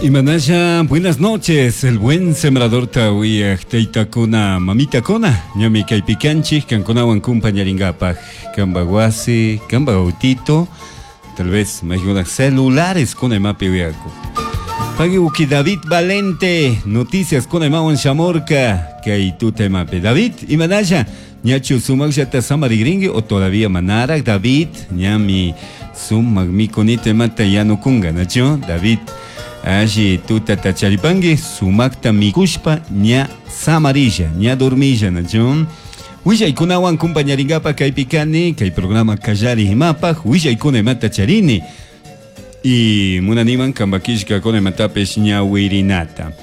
Imanasha, buenas noches, el buen sembrador tawiyaj taytakuna, mamitakuna, ñami kaypi kanchik, kankunawan kumpañaringapaj, kamba wasi, kamba autito, tal vez maykuna celulares kuna imapi uyaku. Pagui uki David Valente, noticias kuna imawan shamurka, kay tuta imapi. David, imanasha, ñachu sumaqllata samarigrinki o todavía manaraq David, ñami sumaq mikunita imata yanukunga, nachu David? Alli tutata charipanki, sumakta mikushpa ña samarilla, ña dormilla, nachu? Willaykunawan kumpañaringapaj kaypi kani, kay programa kallari imapaj, willaykuna imata charini. Y munaniman kambakishkakuna imatapish ñawirinata.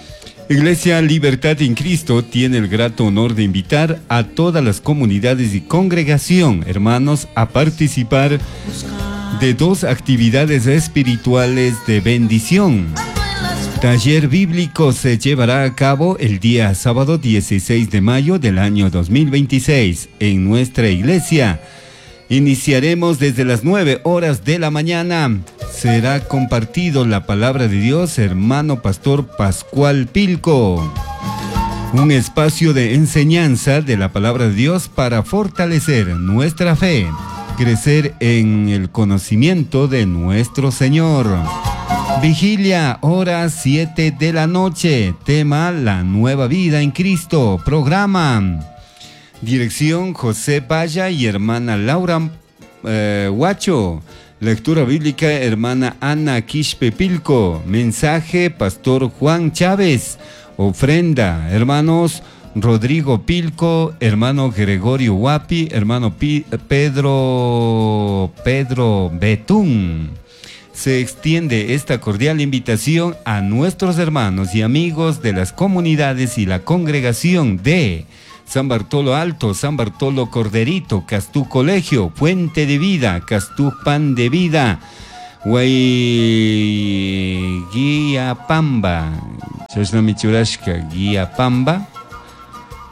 Iglesia Libertad en Cristo tiene el grato honor de invitar a todas las comunidades y congregación, hermanos, a participar de dos actividades espirituales de bendición. Taller bíblico se llevará a cabo el día sábado 16 de mayo del año 2026 en nuestra iglesia. Iniciaremos desde las 9 horas de la mañana. Será compartido la palabra de Dios, hermano pastor Pascual Pilco. Un espacio de enseñanza de la palabra de Dios para fortalecer nuestra fe, crecer en el conocimiento de nuestro Señor. Vigilia, hora 7 de la noche. Tema, la nueva vida en Cristo. Programa. Dirección José Valla y hermana Laura Huacho. Lectura bíblica, hermana Ana Quispe Pilco. Mensaje, pastor Juan Chávez. Ofrenda, hermanos Rodrigo Pilco, hermano Gregorio Huapi, hermano Pedro Betún. Se extiende esta cordial invitación a nuestros hermanos y amigos de las comunidades y la congregación de San Bartolo Alto, San Bartolo Corderito, Castú Colegio, Fuente de Vida, Castú Pan de Vida, Guiapamba, Chashnamichurashka, Guiapamba,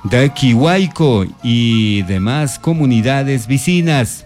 Daquihuayco y demás comunidades vecinas.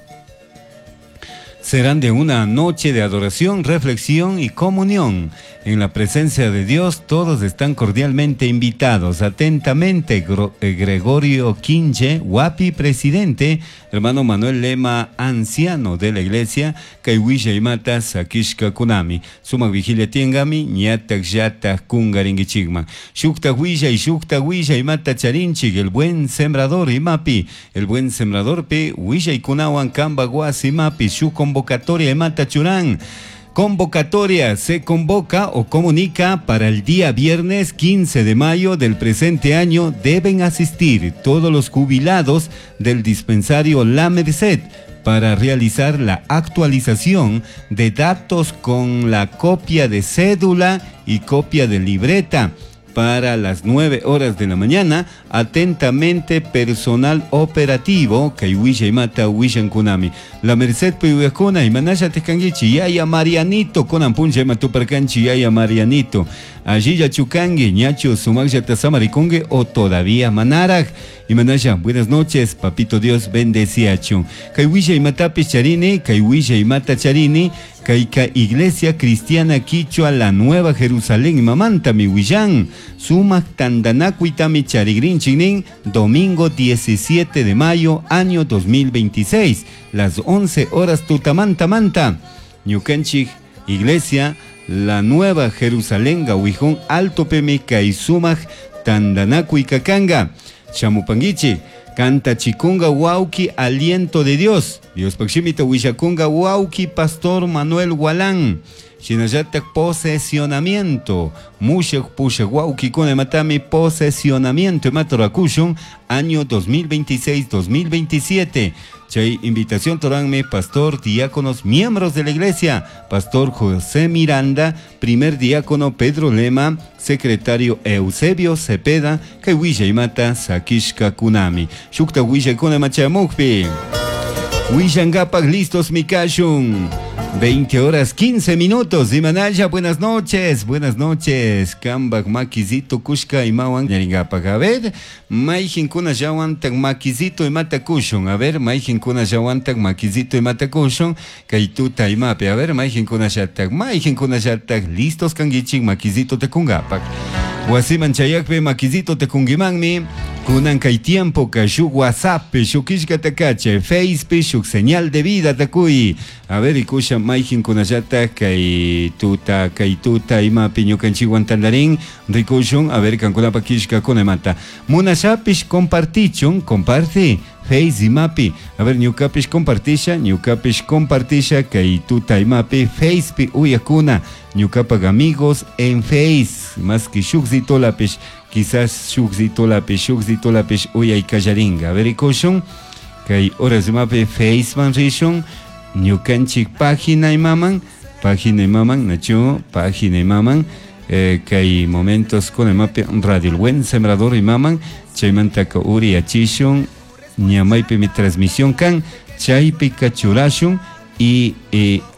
Serán de una noche de adoración, reflexión y comunión. En la presencia de Dios, todos están cordialmente invitados. Atentamente, Gregorio Quinche, Huapi, presidente, hermano Manuel Lema, anciano de la iglesia, Kaiwisha y Mata, Sakishka Kunami. Sumak vigilia tiengami, ñatak yatak kungaringichigma. Shukta huilla y shukta huilla y mata charinchig, el buen sembrador y mapi, el buen sembrador pe, huilla y kunawan kamba guasi mapi, shu convocatoria y mata churán. Convocatoria se convoca o comunica para el día viernes 15 de mayo del presente año. Deben asistir todos los jubilados del dispensario La Merced para realizar la actualización de datos con la copia de cédula y copia de libreta para las 9 horas de la mañana. Atentamente, personal operativo, kay willa imata willankunami. La Merced piuyakuna, imanasha tekanguichi, yaya Marianito, kunan puncha ima tuparkanchi, yaya Marianito. Allí chukangi, ñacho sumaqllata samarikungi o todavía manaraj. Imanasha, buenas noches, papito Dios bendeciachu. Kay willa imatapis charini, kay willa imata charini, kayka Iglesia Cristiana Quichua la Nueva Jerusalén, mamanta mi willan, sumaq tandanakuitami charigrinchinin, domingo 17 de mayo, año 2026, las 11 horas tutamanta manta. Ñukanchik Iglesia la Nueva Jerusalén, Gawijón, Alto Peme, kay sumaq tandanakuy kakanga. Chamupanguichi, canta chikunga wauki, aliento de Dios. Dios pakshimita willakunga wauki, Pastor Manuel Gualán. Shinallatak posesionamiento. Mushak pushak wauki kuna matami posesionamiento. Maturakushun, año 2026-2027. Chay invitación toranme, pastor, diáconos, miembros de la iglesia, pastor José Miranda, primer diácono Pedro Lema, secretario Eusebio Cepeda, kay willa imata Sakishka Kunami. Shukta willa kuna machamukpi. Willangapak listos mikashun. 20 horas 15 minutos. Imanaya, buenas noches, buenas noches. Kambak makizito kushka imawan ñaringapak. A ver, mayjinkuna llawantak makizito imata kushun. A ver, mayjinkuna llawantak makizito imata kushun. Kay tuta imapi. A ver, mayjinkuna llatak, mayjinkuna llatak. Listos kankichik makizito tekungapak. Wasiman chayakpi makizito tekunkimanmi. Kunan kay tiempo ka shuk WhatsApp, shuk killkata kachay, Facebook, shuk señal de vida takuy. A ver, ikusha mayjinkunallatak kay tuta imapi ñukanchikwan tandarin rikushun. A ver, kankunapa killkakuna imata. Munashapish compartichun, comparte. Face imapi. A ver, ñukapish compartisha, ñukapish compartisha kay tuta imapi, Face uyakuna, ñukapak amigos en Face. Más que shukzitolapish, quizás shukzitolapish uyay kallaringa. A ver, ikushun, kay horas imapi Face man rishun, ñukanchik página imaman, nachu, página imaman, kay momentos con imapi Radio El Buen Sembrador imaman, chaymantaka uri achishun, ñamaypi mi transmisión kan, chaypi kachurashun y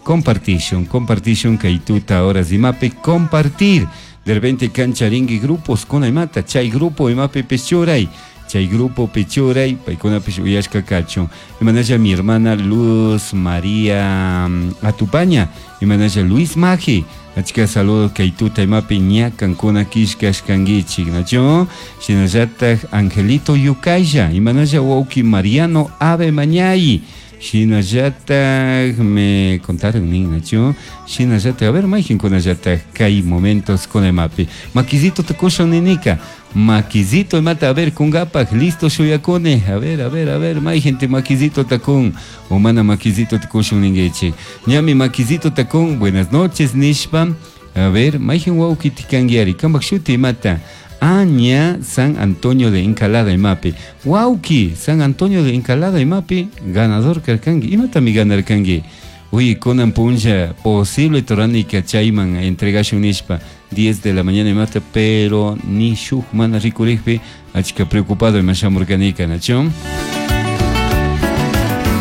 compartishun, compartishun kay tuta horas imapi compartir. De repente kancharingui grupos con imata, chay grupo imapi pechuray, chay grupo pechuray, paykunapish uyashka kachun. Imanalla mi hermana Luz María Atupaña, imanalla Luis Maji, achka saludos kay tuta imapi ña kankuna killkashkankichik, nachu? Shinallatak Angelito Yukaya, imanalla wawki Mariano Ave Mañay, shinallatak me contaron nin, nachu? Shinallatak, a ver, mayjinkunallatak kay momentos con imapi. Makizito tukushun ninika, makizito imata, a ver, kungapak, listo shuyakune, a ver, a ver, a ver, mayjinte makizito takun, o mana makizito tukushun ninguichik. Ñami makizito takun, buenas noches nishpa, a ver, mayjin wawki tikanguiari, kambak shuti imata. Aña San Antonio de Encalada imapi. Wauki, San Antonio de Encalada imapi, ganador karkangi. Imata mi ganar kangi. Uy, kunan puncha, posible torani kachayman entregashun nishpa 10 de la mañana imata, pero ni shuk mana rikurikpi, achka preocupado imashamurkanika, nachu?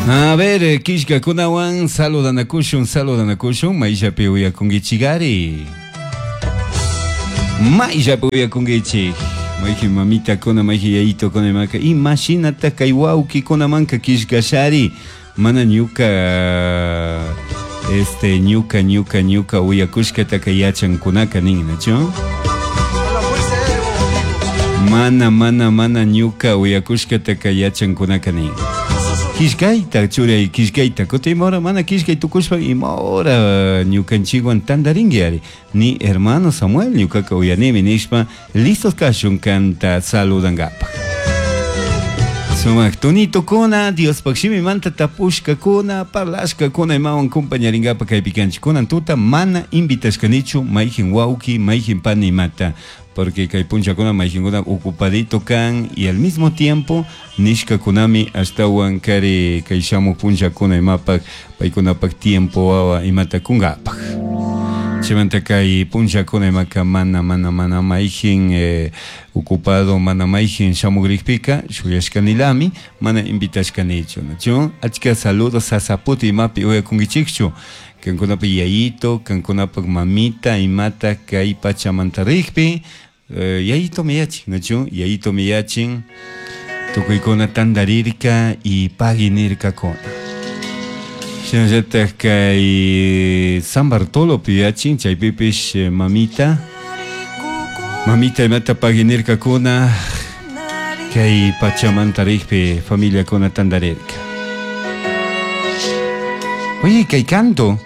A ver, killkakunawan saludanakushun, saludanakushun, mayshapi uyakunkichikari. Mayllapi uyakunkichik. Mayji mamita kuna, mayji yayito kuna imaka. Imashinata kay wawki kunamanka killkashari. Mana ñuka, ñuka, ñuka, ñuka uyakushkataka yachankunaka nin, nachu? Mana, mana, mana ñuka uyakushkataka yachankunaka nin. Killkayta churay, killkayta. Kutin imahora mana killkay tukushpa imahora ñukanchikwan tandarinki ari. Ni hermano Samuel ñukaka uyanimi nishpa listos kashun kanta saludankapak. Sumak tonito kuna, Diospaq shimimanta tapushkakuna, parlashkakuna imawan compañarinkapak kaypi kanchik. Kunan tuta mana invitashkanichu mayjin wawki, mayjin pani imata. Porque kay punchakuna mayjinkuna ocupadito kan y al mismo tiempo nishkakunami ashtawan kari kay shamuq punchakuna imapak paykunapak tiempo wawa imata kunkapak. Chaymanta kay punchakuna imaka mana mana mana mayjin ocupado mana mayjin shamugrikpika shuyashkanilami mana invitashkanichu, nachu? Achka saludos sasaputi imapi uyakunkichikchu. Kankunapak yayito, kankunapak mamita imata kay pachamanta rikpi, yayito miyachin, nachu? Yayito miyachin, tukuykuna tandarirka y paginirkakuna. Shinallatak kay San Bartolo piyachin, chaypipish mamita, mamita imata paginirkakuna, kay pachamanta rikpi familiakuna tandarirka. Oye, kay canto.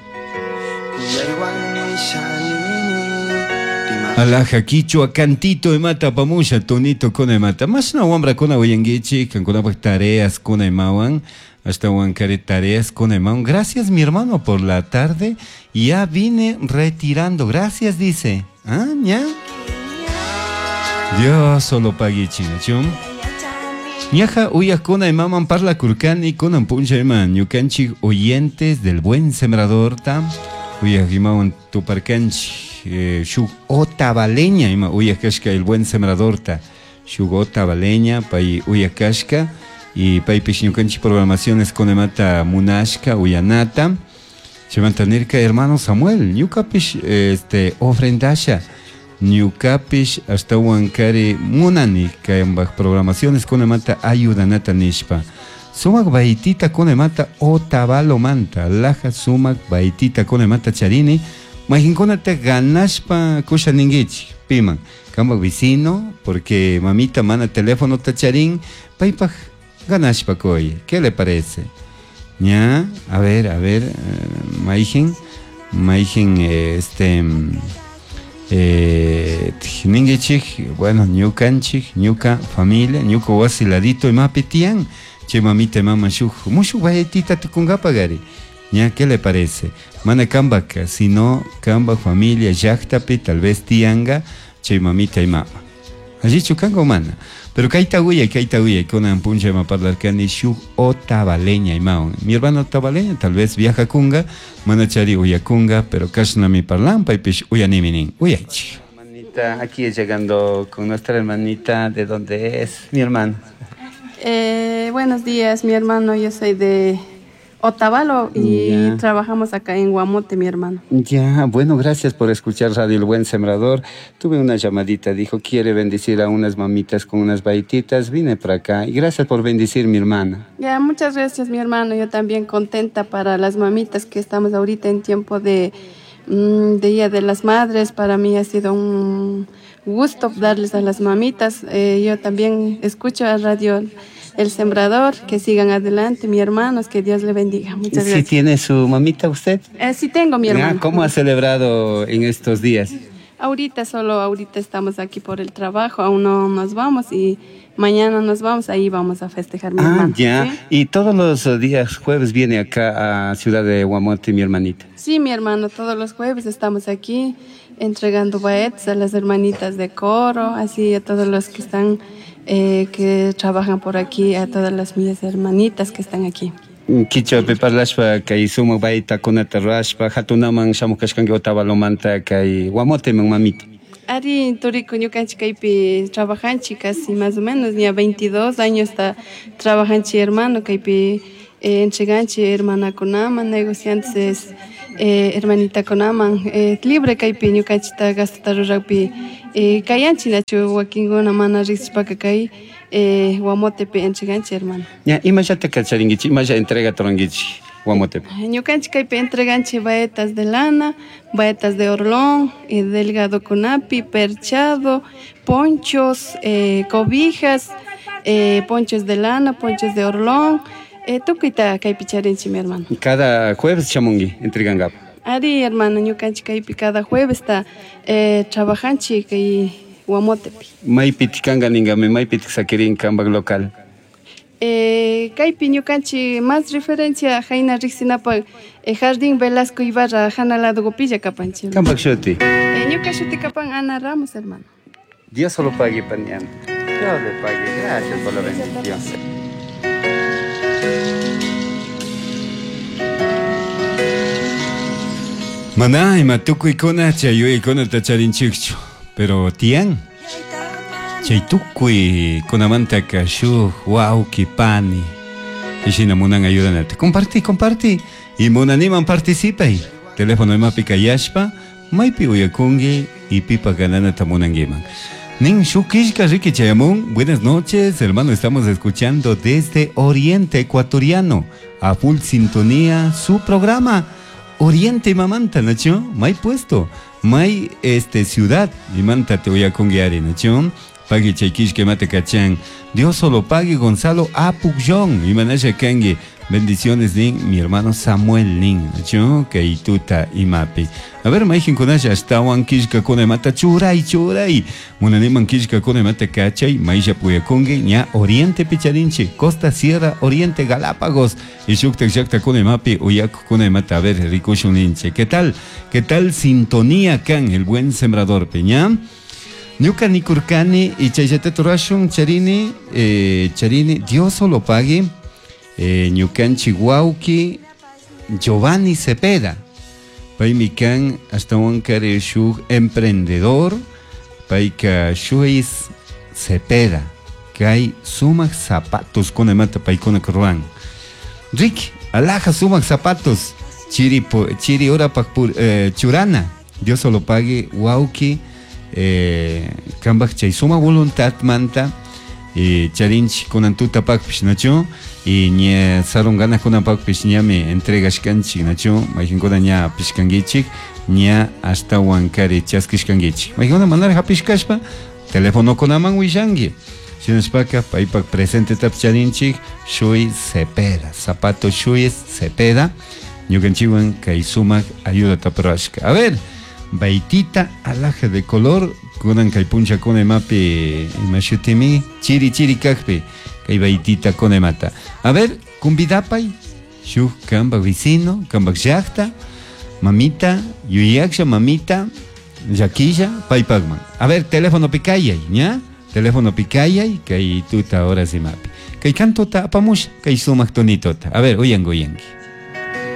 Alaja quichua cantito imata pamusha tonito kuna imata. Mashna wambra kuna uyanguichi, kankunapak tareas kuna imawan, hasta wankare tareas kuna imawan. Gracias mi hermano por la tarde. Ya vine retirando. Gracias, dice. Ah, ya. Dios solo pague chino. Ñaja uyakuna imaman parla kurkani kunan puncha iman ñukanchik oyentes del Buen Sembrador tam uyak imawan tuparkanchik shuk otavaleña ima uyakashka el Buen Sembrador ta shuk otavaleña pay uyakashka y paypish ñukanchik programaciones con imata munashka uyanata. Chaymanta nirka hermano Samuel, ñukapish este ofrendasha, ñukapish ashtawankari munani kayambaj programaciones kunamanta ayudanata nishpa. Sumak baytita kunamanta Otavalomanta, laja sumak baytita kunamanta charini, mayqinkunata ganashpa kusha ninkichik, piman, kambaj vecino, porque mamita mana telefonota charin, paypaj ganashpa kuy, ¿qué le parece? Ña, a ver, mayqin, mayqin, este, ninkichik, bueno, ñukanchik, ñuka familia, ñuka wasi ladito imapi tiyan, chay mamita mama shuk, mushuk baytita tukunkapagari. Ña, ¿qué le parece? Mana kambaka, sino kamba familia llaktapi tal vez tiyanga, chay mamita y mama. Allichu kanka o mana. Pero kayta uyay, kayta uyay, kunan puncha ima parlarkani shuk otavaleña imawan. Mi hermano otavaleña tal vez viaja kunga, mana chari uyakunga, pero kashnami parlan, paypish uyanimi nin. Uyaychik. Hermanita, aquí llegando con nuestra hermanita, ¿de dónde es mi hermano? Buenos días, mi hermano, yo soy de Otavalo y Ya. trabajamos acá en Guamote, mi hermano. Ya, bueno, gracias por escuchar Radio El Buen Sembrador. Tuve una llamadita, dijo, quiere bendecir a unas mamitas con unas baititas. Vine para acá y gracias por bendecir, mi hermana. Ya, muchas gracias, mi hermano. Yo también contenta para las mamitas que estamos ahorita en tiempo de Día de las Madres. Para mí ha sido un gusto darles a las mamitas. Yo también escucho a Radio El Sembrador, que sigan adelante, mis hermanos, que Dios le bendiga. Muchas ¿Sí gracias. tiene su mamita usted? Sí tengo, mi Ah, hermano. ¿cómo ha celebrado en estos días? Ahorita, solo ahorita estamos aquí por el trabajo, aún no nos vamos y mañana nos vamos, ahí vamos a festejar, mi Ah, hermano. ya. ¿Sí? Y todos los días jueves viene acá a Ciudad de Guamote, mi hermanita. Sí, mi hermano, todos los jueves estamos aquí entregando baetes a las hermanitas de coro, así a todos los que están, que trabajan por aquí, a todas las mis hermanitas que están aquí. Kichwapi parlashpa kay sumak baytakunata rurashpa hatunaman shamuj kashkanki Otavalomanta kay Guamoteman mamita. Ari turiku ñukanchik kaypi trabajanchik casi más o menos ya 22 años ta trabajanchik hermano kaypi, entreganchik hermanakunaman, negociantes, hermanitakunaman, libre kaypi ñukanchikta gastota rurakpi, kayanchik nachu wakinkuna mana riqsishpaka kay, Guamotepi entreganchik hermano. Ña, imallata kacharinkichik, imalla entrega turankichik Guamotepi? Ñukanchik kaypi entreganchik baetas de lana, baetas de orlón, delgado kunapi, perchado, ponchos, cobijas, ponchos de lana, ponchos de orlón, tukuyta kaypi charinchik, mi hermano. Cada jueves shamunki entregankapa. Ari, hermano, ñukanchik kaypi cada jueves ta, trabajanchik kay Guamotepi. Maypitik kanka ninkami, maypitik sakirin kanpak local. Kaypi ñukanchik más referencia hayna riqsinapaq, Jardín Velasco Ibarra jana lado gopilla kapanchik. Kanpak shuti. Ñuka shuti kapan Ana Ramos, hermano. Dios solo pague, paniana. Dios le pague. Gracias por la bendición. Maná, ima tukuykuna chay yuyaykunata charinchikchu, pero tiyan chay tukuykunamantaka shuk wawki pani ishina munan ayudanata. Compartí, compartí y munaniman participay. Teléfono imapi kayashpa maypi uyakunki y pipa gananata munankiman. Nin shuk killka riki chayamun. Buenas noches, hermano, estamos escuchando desde Oriente Ecuatoriano a full sintonía su programa Oriente Mamanta, Nacho, may puesto, may este ciudad y manta te voy a conguiar, Nacho. Pagui chayquish que mate cachan. Dios solo pague Gonzalo Apugyón y manasha kangi. Bendiciones nin mi hermano Samuel nin, Nacho, kaituta y mapi. A ver, maijin kunasha hasta kishka kone mata churay churay. Munaniman kishka kone mata cachay, maisha puyakungi, ña Oriente Picharinchi, Costa Sierra Oriente Galápagos. Y shuktak shakta kone mapi, uyaku kone mata, a ver, rikushun ninche. ¿Qué tal? ¿Qué tal sintonía can el buen sembrador Peña? Ñuka nikurkani y chayllata turashun charini, charini, Dios solo pague, ñukanchi wawki Giovanni Cepeda. Paymi kan ashtawankari shuk emprendedor, payka shuis Cepeda, kay sumak zapatos kunamanta paykuna ruwan. Rick, alaja sumak zapatos. Chiri, chiri horapak churana. Dios solo pague wauki kambaj chay suma voluntad manta charinchik kunan tutapakpish nachu y ña sarunganajkunapakpish ñami entregashkanchik nachu mayqinkuna ña apishkankichik ña ashtawan kari chaskishkankichik mayqinkuna manaraj hapishkashpa telefonokunaman willanki shinashpaka paypak presentetapish charinchik Shuy Cepeda zapato Shuy Cepeda ñukanchikwan kay sumak ayudata rurashka. A ver, baitita alhaja de color kunan kay punchakuna imapi ima shutimi chiri chiri kakpi kay baitita kuna imata. A ver, convidapay shuk kambak vecino, kambak llakta, mamita, yuyaksha mamita, llaquilla, paypakman. A ver, teléfono kayay, ña? Teléfono kayay, kay tuta horas imapi. Kay cantota apamusha, kay sumak tonitota. A ver, uyangi, uyangi.